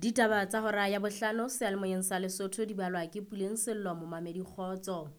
Ditaba tsa hora ya bohlano seyalemoyeng sa Lesotho di balwa ke Puleng Sello momamedi kgotso.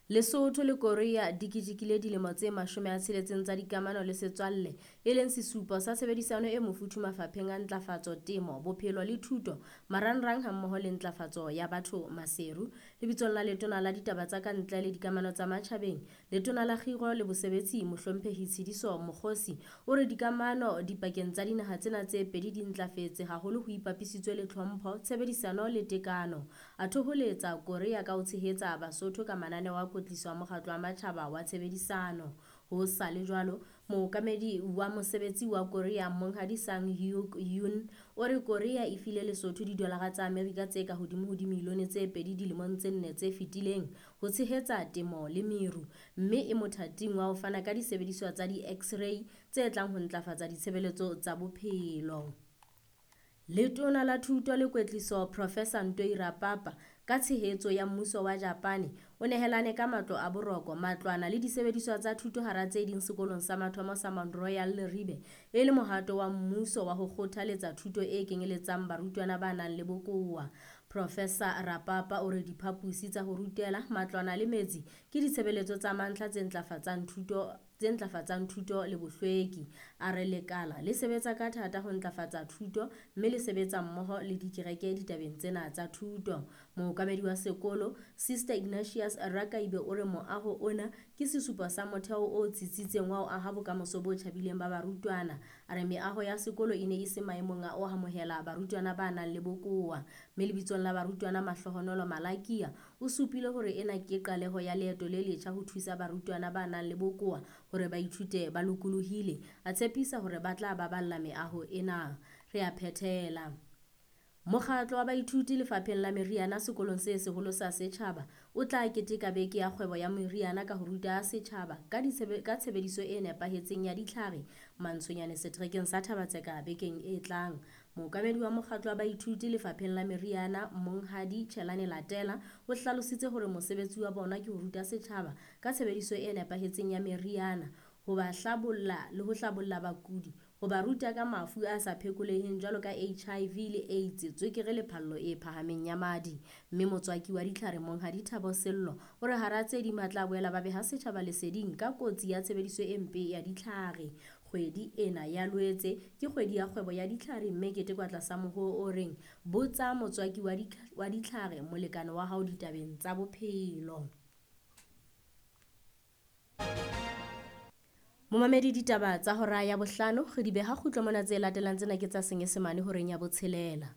Lesotho le Korea di ketekile dilemo tse 60 tsa dikamano le setswalle, e leng sesupo sa tshebedisano e mofuthu mafapheng a ntlafatso, temo, bophelo le thuto, marangrang hammoho le ntlafatso ya batho Maseru. Lebitsong la Letona la Ditaba tsa Kantle le Dikamano tsa Matjhabeng, Letona la Kgiro le Bosebetsi Mohlomphehi Tshidiso Mokgosi o re dikamano dipakeng tsa dinaha tsena tse pedi di ntlafetse haholo ho ipapisitswe le tlhompho, tshebedisano le tekano. A thoholetsa Korea ka ho tshehetsa Basotho ka mananeo a kwetliso a Mokgatlo wa Matjhaba wa Tshebedisano. Ho sa le jwalo, mookamedi wa mosebetsi wa Korea Monghadi Sang Hyuk Yoon o re Korea e file Lesotho didolara tsa Amerika tse ka hodimo ho dimilione tse 2 dilemong tse 4 tse fetileng ho tshehetsa temo le meru, mme e mothating wa ho fana ka disebediswa tsa di-X-ray tse tlang ho ntlafatsa ditshebeletso tsa bophelo. Letona la Thuto le Kwetliso Professor Ntoi Rapapa ka tshehetso ya mmuso wa Japane o nehelane ka matlo a boroko, matlwana le disebediswa tsa thuto hara tse ding sekolong sa mathomo sa Mount Royal Leribe e le mohato wa mmuso wa ho kgothaletsa thuto e kenyeletsang barutwana ba nang le bokowa. Professor Rapapa o re diphaposi tsa ho rutela, matlwana le metsi ke ditshebeletso tsa mantlha tse ntlafatsang thuto le bohlweki. A re lekala le sebetsa ka thata ho ntlafatsa thuto mme le sebetsa mmoho le dikereke ditabeng tsena tsa thuto. Mookamedi wa sekolo Sister Ignatius Rakaibe o re moaho ona ke sesupo sa motheo o tsitsitseng wa ho aha bokamoso bo tjhabileng ba barutwana. A re meaho ya sekolo e ne e se maemong a ho amohela barutwana ba nang le bokowa. Mme lebitsong la barutwana Mahlohonolo Malakia o supile hore ena ke qaleho ya leeto le letjha ho thusa barutwana ba nang le bokowa hore ba ithute ba lokolohile. A tshepisa hore ba tla baballa meaho ena. Re a phethela. Mokgatlo wa baithuti lefapheng la meriana sekolong se seholo sa setjhaba o tla keteka beke ya kgwebo ya meriana ka ho ruta setjhaba ka tshebediso e nepahetseng ya ditlhare Mantshonyane seterekeng sa Thabatseka bekeng e tlang. Mookamedi wa mokgatlo wa baithuti lefapheng la meriana Monghadi Chelane Latela o hlalositse hore mosebetsi wa bona ke ho ruta setjhaba ka tshebediso e nepahetseng ya meriana, ho ba hlabolla le ho hlabolla bakudi, ho ba ruta ka mafu a sa phekoleheng jwalo ka HIV le AIDS, tswekere le phallo e phahameng ya madi. Mme motswaki wa ditlhare Monghadi Thabo Sello o re hara tse ding ba tla boela ba beha setjhaba leseding ka kotsi ya tshebediso e mpe ya ditlhare. Kgwedi ena ya Loetse ke kgwedi ya kgwebo ya ditlhare mme ketekwa tlasa mohoo o reng botsa motswaki wa ditlhare molekane wa hao ditabeng tsa bophelo. Momamedi ditaba tsa hora ya bohlano re di beha kgutlo mona, tse latelang tsena ke tsa Senyesemane horeng ya botshelela.